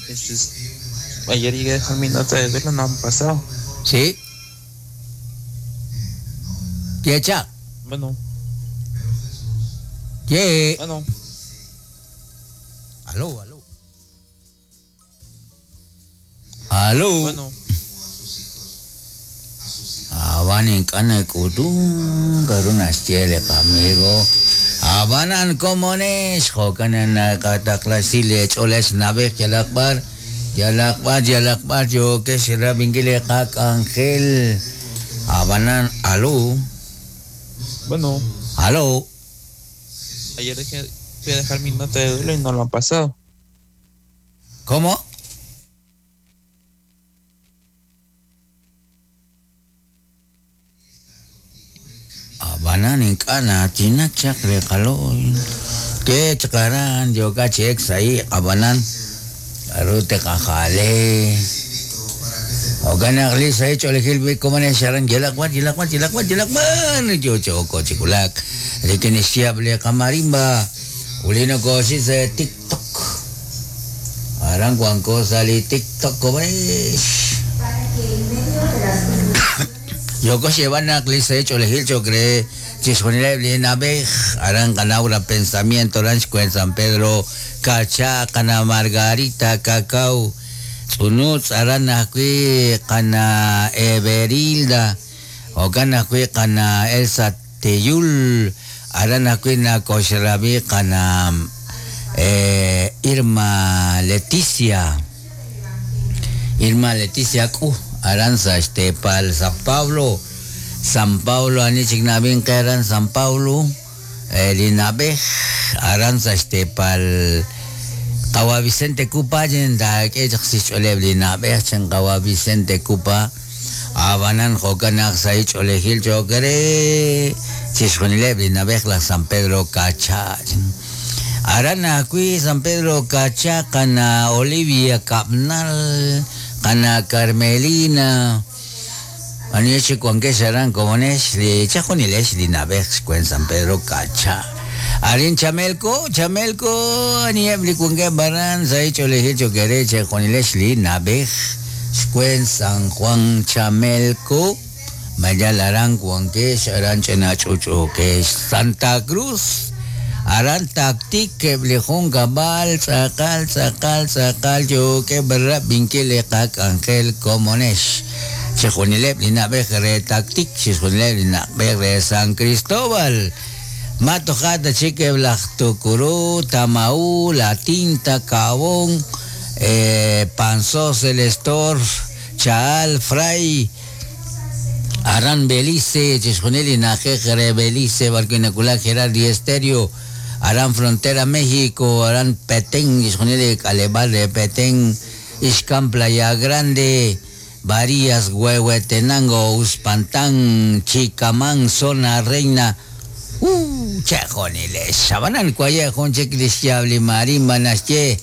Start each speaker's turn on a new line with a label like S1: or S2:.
S1: Este ayer llegué a dejar mi nota de duelo, no han pasado.
S2: Sí. Yecha.
S1: Bueno.
S2: Ye.
S1: Bueno.
S2: Aló, aló. Aló.
S1: Bueno.
S2: Abanin kana kutun karunas chele amigo. Abanan komones jokanan kataklasi choles nabej yalakbar yalakbar yalakbar yo que será vingile kak ángel. Abanan aló.
S1: Bueno.
S2: Aló.
S1: Ayer dejé, fui a dejar mi nota de duelo y no lo han pasado.
S2: ¿Cómo? Abanan ink'ana tinak chaq riqaloy ke chqaran yoka chek sai abanan arute qajale Oganaq li sai ch'olejil bi komane sharan yalaqwan yalaqwan yalaqwan yalaqwan yo choko chikulak rikin siap le kamarimba ulino kosi se TikTok aran cuanco sali TikTok komane Yoko llevan li sai ch'olejil chokre chisjonile li nabej aran kanaura pensamiento ranch cuen San Pedro Cacha kana Margarita Cacao Tz'unutz aran ajwi' qana Everilda jo'kan ajwi' qana Elsa Teyul aran ajwi' nakoxrabi qana Irma Leticia Irma Leticia K'uj aran sa xteepal San Pablo San Pablo anichik nab'in qe aran San Pablo li nab'ej aran sa xteepal Qawa Vicente Cupa taak'e chaq sixch'ooleb li nab'ej chan Qawa Vicente Cupa abanan jo'kan naq sa ich'oolejil cho'q re chixjunileb li nab'ej laj San Pedro Cacha aran ajwi' San Pedro Cacha qana Olivia Kabnal qana Carmelina ani chik wankex aran komonex li chajunilex li nab'ej xkwen San Pedro Cacha arin Chamelco Chamelco anieb li wankeb aran sa ich'oolejil cho'q re chajunilex li nab'ej xkwen San Juan Chamelco mayal aran wankex aran ch'ina ch'uch'ukex Santa Cruz aran taktik eb' li jun kab'al tz'aqal tz'aqal tz'aqal yookeb' rab'inkil li qak'anjel komonex chixjunileb' li nab'ej re taktik chixjunileb' li nab'ej re San Cristóbal matoja ta chik eb' laj Tucurú Tamaú La Tinta Cabón Panzós El Estor Chaal Fray aran Belice chixjunil li na'ajej re Belice b'arwi' nakulak Gerardi Estéreo aran Frontera México aran Petén chixjunil li k'aleb'aal re Petén Ixcán Playa Grande Varías Huehuetenango Uspantán Chicamán Zona Reina chejunilex abanan kuaye jun chik li xyaab li marimba naxye